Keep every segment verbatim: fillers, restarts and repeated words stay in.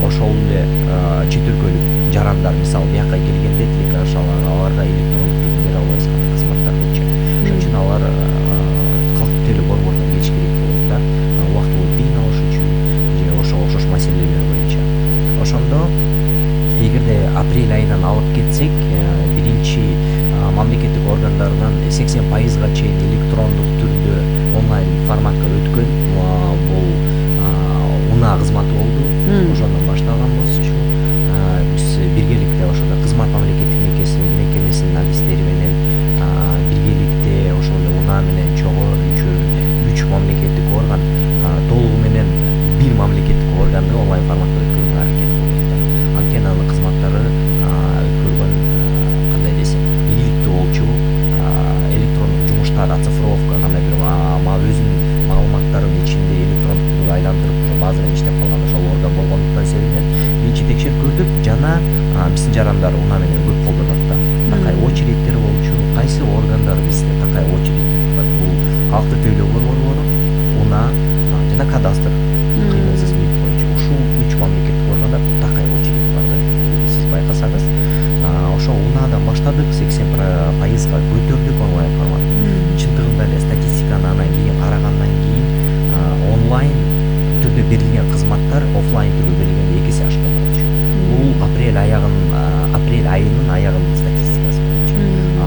ошол эле чет өлкөлүк жарандар мисалы бияка келгенде тилек ашалар аларга электрондук түрдө бере албайбыз кандай кызматтардычы. Ошон үчүн алар калктуу теле борборуна келиш керек болот да, убактылуу бейин алыш үчүн же ошого окшош маселелер боюнча. Ошондо эгерде апрель айынан алып кетсек, биринчи мамлекеттик органдарынан сексен пайызга чейин электрондук түрдө онлайн форматка өткөн бул унаа кызматы болду. Ошондон башталган болчу. Биз биргеликте ошондо кызмат мамлекеттик мекемесинин адистери менен биргеликте ошол эле унаа менен чогуу үчөө үч мамлекеттик орган толугу менен бир мамлекеттик органды онлайн форматта өткөрүүгө аракет кылдык да. Анткени анын кызматтары өткөргөн кандай десем ийгиликтүү болчу. Электрондук жумуштар, оцифровка кандай бир өзүнүн маалыматтарын ичинде электрондук түргө айландырып базадан иштеп калган ошолордо болгондуктан себептен биринчи текшерип көрдүк. Жана биздин жарандар унаа менен көп колдонот да. Такай очередтер болчу. Кайсы органдар бизде такай очередь турат? Бул калктуу тейлөө борбору, унаа жана кадастр кыймылсыз мүлк боюнча ушул үч мамлекеттик органда такай очередь бар да. Сиз байкасаңыз, ошо унаадан баштадык, сексен пайызга көтөрдүк онлайн формат. Чындыгында эле статистиканы анан кийин карагандан кийин онлайн түрдө берилген кызматтар офлайн түрдө берилгенде эки эсе ашкан болчу. Бул апрель аягын апрель айынын аягынын статистикасы боюнча.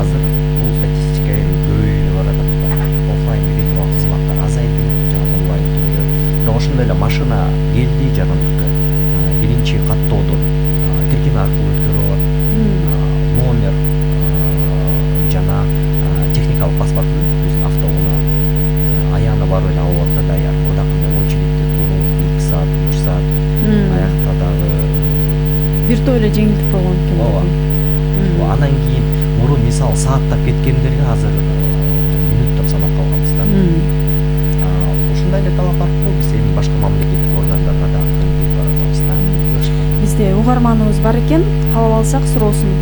Азыр бул статистика эми көбөйүп баратат да. Офлайн бере турган кызматтар азайды, жана онлайн түрдө. Бирок ошондой эле машина келди жарандыкка. Биринчи каттоодон тиркеме аркылуу өткөрүп алат. Номер жана техникалык паспортун өзүнүн автоунаа аягына барып эле алып алат да, даяр. Одакында очередте туруп эки саат, үч саат аякта дагы биртөө эле жеңилдик болгон экен. Ооба. Андан кийин мурун мисалы сааттап кеткендерге азыр мүнөттөп санап калганбыз да. Ушундай эле талап бар го. Биз эми башка мамлекеттик органдарга дагы көңүл баратабыз да. Бизде угарманыбыз бар экен, каалап алсак суроосун.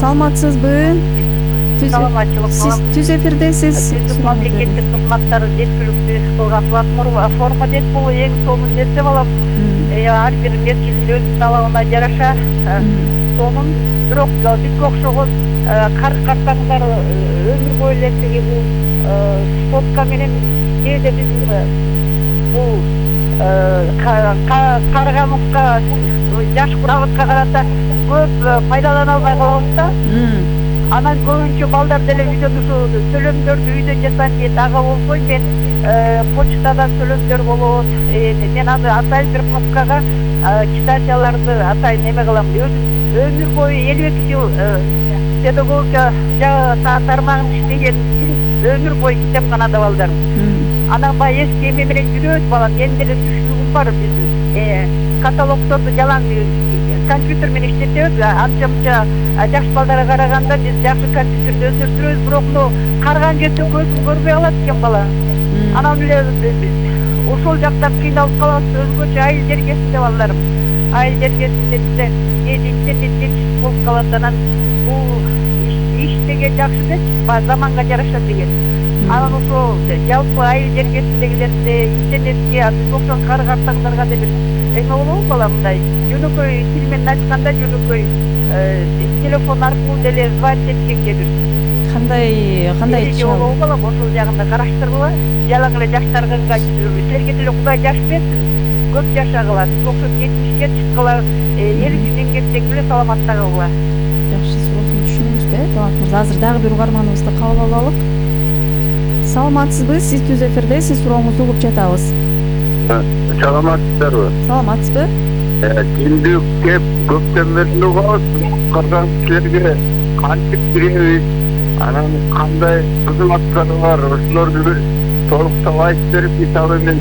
Саламатсызбы? Саламатчылык. Сиз түз эфирдесиз. Мамлекеттик кызматтарды жеткиликтүү иш кылган платформа дейт. Бул эң сонун нерсе балам. Ар бир мезгилдин өз талабына жараша сонун. Бирок бизге окшогон карт-картаңдар өмүр бою эле тиги бул сотка менен кээде биз бул Карагановка жаш курабытка карата көп пайдалана албай калабыз да. Анан көбүнчө балдар деле үйдөн ушу төлөмдөрдү үйдө жасайм дейт. Ага болсо мен почтадан төлөмдөр болот. Мен аны атайын бир папкага китапчаларды атайын неме кылам. Өзүм өмүр бою элүү эки жыл педагогика тармагында иштеген өмүр бою китепканада балдарым. Анан баягы эски эме менен жүрөбүз балам. Мен деле түшүнүгүм бар. Биз каталогдорду жалаң компьютер менен иштетебиз. Анча-мынча жаш балдарга караганда биз жакшы компьютерди өздөштүрөбүз, бирок мына карган кезде көзүм көрбөй калат экен бала. Анан эле ошол жакта кыйналып калабыз. Өзгөчө айыл жергесинде балдарым. Айыл жергесинде бизде кээде интернет жетишсиз болуп калат. Анан бул иш деген жакшы да, заманга жараша деген. Анан ошо жалпы айыл жергесиндегилерде интернетке биз окшогон кар-картаңдарга да бир эме болобу балам, мындай жөнөкөй тил менен айтканда жөнөкөй телефон аркылуу деле звонить эткенге бир кандай кандай болобу балам, ошол жагында караштыргыла. Жалаң эле жаштарга силерге деле Кудай жаш берсин, көп жашагыла, биз окшоп жетимишке чыккыла, эл үчүн эмгектенгиле, саламаттагыла. Жакшы, суроосун түшүнөбүз да, Талант мырза. Азыр дагы бир угарманыбызды кабыл алалык. Саламатсызбы? Сиз түз эфирде, сиз сурооңузду угуп жатабыз. Саламатсыздарбы? Саламатсызбы? Түндүк кеп көптөн бери угабыз, кыргыз кишилерге кантип киребиз, анан кандай кызматтары бар, ошолорду бир толуктап айтып берип, мисалы мен